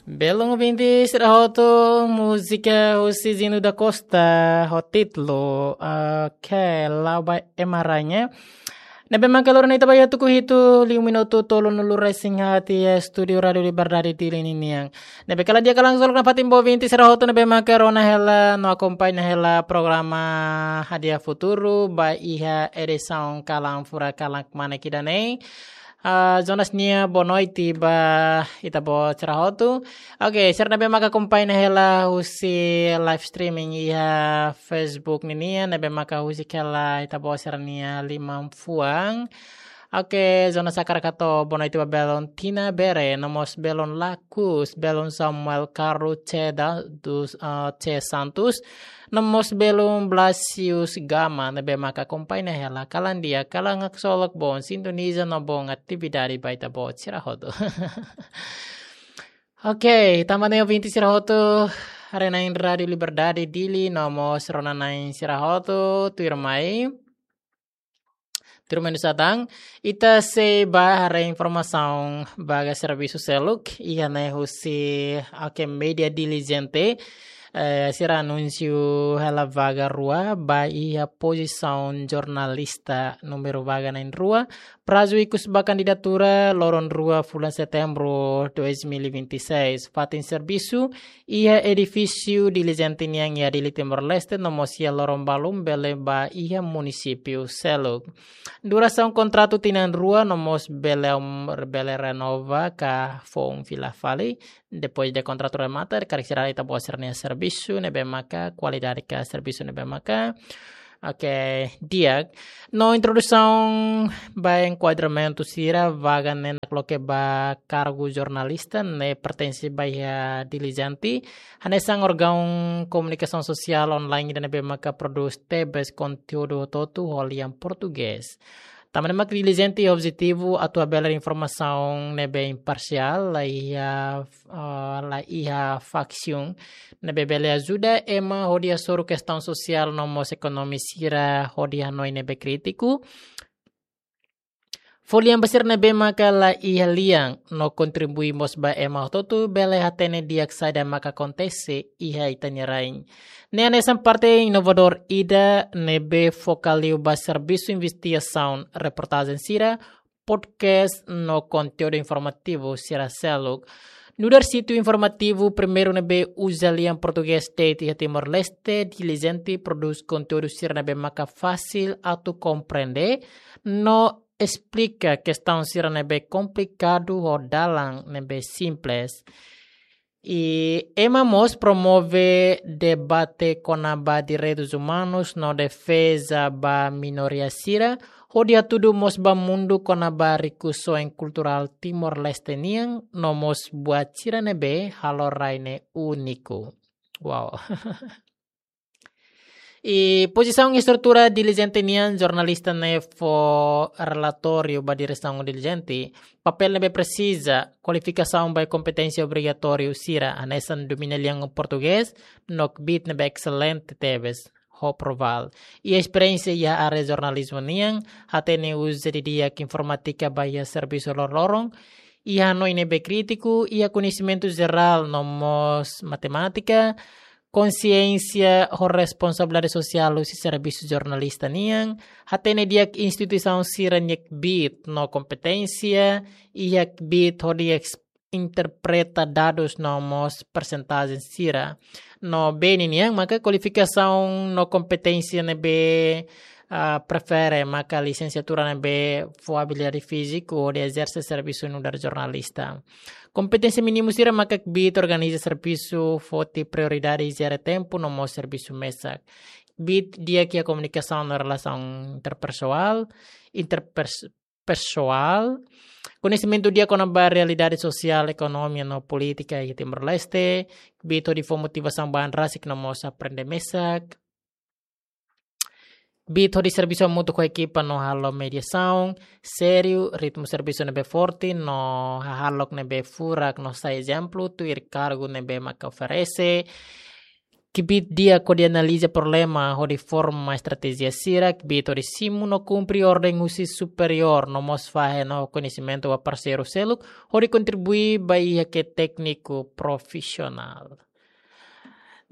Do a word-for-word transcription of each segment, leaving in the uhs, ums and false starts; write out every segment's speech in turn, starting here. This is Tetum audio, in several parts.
Belun ouvinte sira hotu, múzika husi Zino da Costa, ho títulu, eh, ke Laba Ema Rainha. Ne'ebé maka loron ita ba iha tuku hitu, liu minutu tolunulu-resin-haat iha estúdiu Rádiu Liberdade Dili ninian. Ne'ebé kala di'ak ka langsung nafatin ba ouvinte sira hotu ne'ebé maka rona hela no akompaña hela programa Hadi'a Futuru ba iha edisaun kalan furak kalan kmanek ida-ne'e. Ah, Jonas nia boa noite ba ita-boot sira hotu. Oke, sira ne'ebé maka akompaña hela husi live streaming iha Facebook ninian, ne'ebé maka husik hela ita-boot sira-nia liman fuan. Oke, Jonas hakarak hato'o boa noite ba belun Tina Bere, no mós belun Lakus, belun Samuel Carlos C da, dos, ah, C Santos, no mós belun Blasius Gama, ne'ebé maka akompaña hela kalan di'ak, kalan haksolok, boon sintoniza no boon atividade ba ita-boot sira hotu. Oke, tanba ne'e ouvinte sira hotu, haree-na'in Rádiu Liberdade Dili, no mós rona-na'in sira hotu, tuirmai. Tuirmai nu'usá tan, ita sei bá haree informasaun vaga servisu seluk, iha ne'e husi, oke, Media Diligente, eh, sira anunsia hela vaga rua, ba iha pozisaun jornalista númeru vaga na'in-rua, prazu ikus ba kandidatura loron rua fulan Setembru dois mil e vinte e seis, fatin servisu, iha edifísiu Diligente nian iha Dili Timor-Leste, no mós iha loron balun bele ba iha munisípiu seluk. Durasaun kontratu tinan rua, no mós bele, bele renova ka foun fila fali. Depois de kontratu remata, karik sira ita-boot sira-nia servisu ne'ebé maka kualidade ka servisu ne'ebé maka, oke, di'ak. No introdusaun ba enkuadramentu sira, vaga ne'e nakloke ba kargu jornalista ne'e pertense ba iha Diligente, hanesan órgaun komunikasaun sosiál online ida ne'ebé maka prodús tebes konteúdu hotu-hotu ho lian portugés. Tanba ne'e mak Diligente iha objetivu atu habelar informasaun ne'ebé imparsiál, la iha, ah, la iha faksiun, ne'ebé bele ajuda ema hodi hasoru kestaun sosiál no mós ekonomia sira hodi hanoin ne'ebé krítiku. Fó lian ba sira ne'ebé maka la iha lian, no kontribui mós ba ema hotu-hotu bele hatene di'ak saida maka akontese iha ita-nia rain. Ne'e hanesan parte inovadór ida ne'ebé foka liu ba servisu investigasaun, reportajen sira, podcast no konteúdu informativu sira seluk. Nu'udar sítiu informativu primeiru ne'ebé uza lian portugés de'it iha Timor-Leste, Diligente prodús konteúdu sira ne'ebé maka fasil atu komprende no esplika kestaun sira ne'ebé komplikadu ho dalan ne'ebé simples. I ema mós promove debate kona-ba direitus umanus no defeza ba minoria sira, hodi hatudu mós ba mundu kona-ba rikusoin kulturál Timor-Leste nian, no mós buat sira ne'ebé halo rai ne'e úniku. Wow. I pozisaun estrutura Diligente nian, jornalista ne'e fó relatóriu ba diresaun Diligente, papél ne'ebé presiza, kualifikasaun ba kompeténsia obrigatóriu sira, hanesan domina lian portugés, no kbiit ne'ebé excelente tebes, ho provál. I esperiénsia iha área jornalizmu nian, hatene uza didi'ak informátika ba iha servisu loroloron, iha hanoin ne'ebé krítiku, iha koñesimentu jerál no mós matemátika, konsiénsia ho responsabilidade sosiál husi servisu jornalista nian, hatene di'ak instituisaun sira-nia kbiit no kompeténsia, iha kbiit hodi es-, interpreta dadus no mós persentajen sira. No B N nian, maka kualifikasaun no kompeténsia ne'ebé, ah, prefere, maka lisensiatura ne'ebé fó abilidade fíziku hodi ezerse servisu nu'udar jornalista. Kompeténsia mínimu sira maka kbiit organiza servisu, foti prioridade, jere tempu no mós servisu mesak. Kbiit di'ak iha komunikasaun no relasaun interpesoál, interpers-, pesoál. Koñesimentu di'ak kona-ba realidade sosiál, ekonomia no polítika iha Timor-Leste. Kbiit hodi fó motivasaun ba an rasik no mós aprende mesak. Kbiit hodi servisu hamutuk ho ekipa no halo mediasaun sériu, ritmu servisu ne'ebé forte no hahalok ne'ebé furak no sai ezemplu tuir kargu ne'ebé maka oferese. kbiit di'ak hodi analiza problema hodi forma estratéjia sira, kbiit hodi simu no kumpre orden husi superiór no mós fahe no koñesimentu ba parseiru seluk hodi kontribui ba iha ke tékniku profisionál.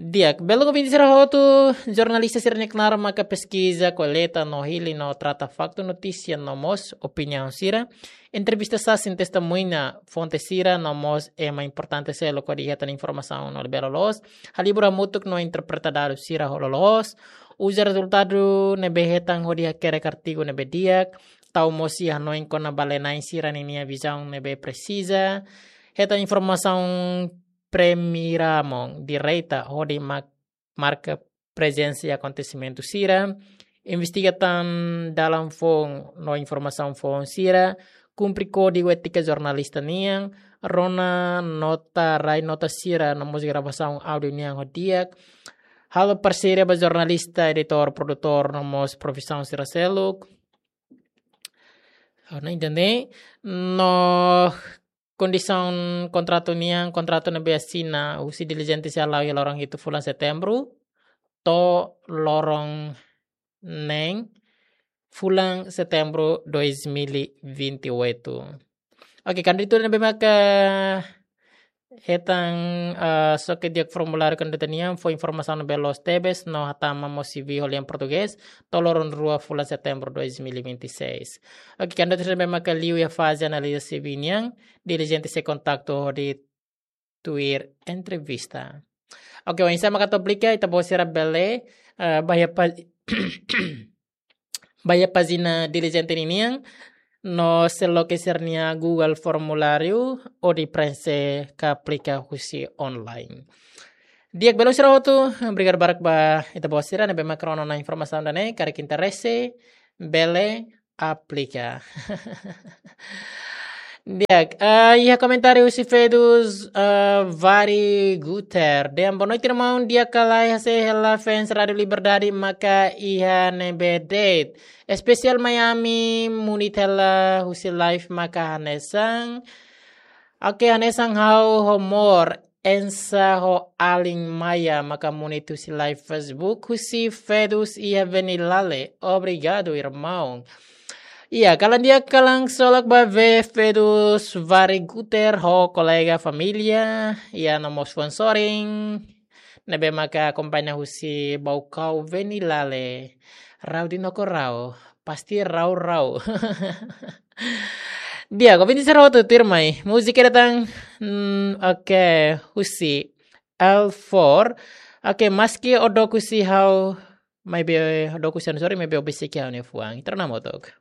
Di'ak, belun ouvinte sira hotu, jornalista sira-nia knaar maka peskiza, koleta no hili no trata faktu, notísia no mós opiniaun sira. Entrevista sasán, testemuña, fonte sira no mós ema importante seluk hodi hetan informasaun no labele loloos. Halibur hamutuk no interpreta dadus sira ho loloos. Uza rezultadu ne'ebé hetan hodi hakerek artigu ne'ebé di'ak. Tau mós iha hanoin kona-ba lia-na'in sira-ninia vizaun ne'ebé presiza. Hetan informasaun primeira mão, direta, hodi ma-, marka prezensa iha akontesimentu sira, investiga tan dalan foun no informasaun foun sira, kumpre kódigu étika jornalista nian, rona nota, rai nota sira no mós gravasaun áudiu nian ho di'ak, halo parseria ba jornalista, editór, produtór no mós profisaun sira seluk. Ha'u la entende. No kondisaun kontratu nian, kontratu ne'ebé asina husi dilijente sira la'o iha loron hitu fulan Setembru to'o loron neen fulan Setembru dois mil e vinte e oito. Oke, kandidatu ne'ebé maka hetan, eh, xoke di'ak formuláriu kandidatu nian, fó informasaun ne'ebé loos tebes no hatama mós C V ho lian portugés to'o loron rua fulan Setembru dois mil e vinte e seis. Oke, kandidatu ne'ebé maka liu iha faze analiza C V nian, dilijente sei kontaktu hodi tuir entrevista. Oke, oinsá maka atu aplika, ita-boot sira bele, eh, ba iha pa-, ba iha pájina dilijente ninian, no sei loke sira-nia Google formuláriu hodi prenxe ka aplika husi online. Di'ak, belun sira hotu, obrigadu barak ba ita-boot sira ne'ebé maka rona ona informasaun ida-ne'e, karik interese, bele aplika. Di'ak, eh, iha komentáriu husi Fedus, eh, Vari Guter. Dehan boa noite, irmaun. Di'ak ka lae, hasai hela fans Rádio Liberdade maka iha ne'ebé de'it. Espesiál Miami, munit hela husi live maka hanesan. Oke, hanesan ha'u ho amór, ensa ho alin maia maka munit husi live Facebook husi Fedus iha Venilale. Obrigadu, irmaun. Iha, kalan di'ak, kalan ksolok ba Fedus Vari Guter ho kolega, família, iha no mós fans sorin ne'ebé maka akompaña husi Baucau Venilale. Rau di noko rau, pasti rau-rau. Di'ak, ouvinte sira hotu, tuirmai. Múzika ida tan, hmm, oke, husi L four. Oke, maski ó dook husi ha'u, maibé ó dook husi ha'u, sorry, maibé ó besik iha ha'u-nia fuan. Ita rona hamutuk.